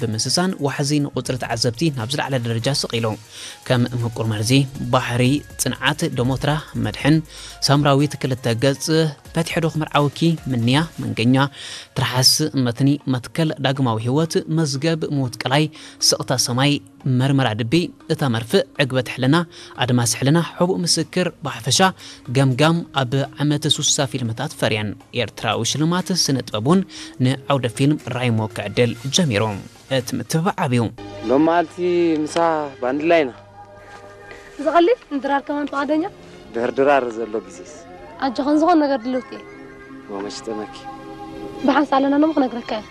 ብምስሳን ዋሕዚ ንቁፅሪ ተዓዘብቲ ናብ ዝለዓለ ደረጃ ስቕ ኢሉ። ከም ምቁር መርዚ ባሕሪ፣ ፅንዓት፣ ደሞትራ፣ መድሕን፣ ሳምራዊት ክልተ ገፅ፣ ፈትሐ ዶ ክምርዓውኪ፣ ምንያ፣ መንገኛ፣ ትርሓስ፣ መትኒ፣ መትከል፣ ዳግማዊ ህይወት፣ መዝገብ፣ ምዉት ቀላይ፣ ስቕታ ሰማይ፣ መርመራ ድቢ፣ እታ መርፍእ፣ ዕግበት ሕልና፣ ኣድማስ ሕልና፣ ሕቡእ ምስክር፣ ብሓፈሻ ገምጋም ኣብ ዓመት ሱሳ ፊልምታት ፈርየን። ኤርትራዊ ሽልማት ስነ ጥበብ እውን ንዓውደ ፊልም ራይሞ ክዕድል ጀሚሩ። እቲ ምትብባዕ ዓብዩ። ሎም መዓልቲ ምሳ ባንድላ ኢና። ዝቐልል ንድራር ከማን ፍቓደኛ? ድህር ድራር ዘሎ ግዜስ። ኣጆኸን ዝኾን ነገር ድልውቲ እየ። ሞመሽ ተመኪ። ብሓንሳ ኣለና ኖሞ ክነግረካ እየ።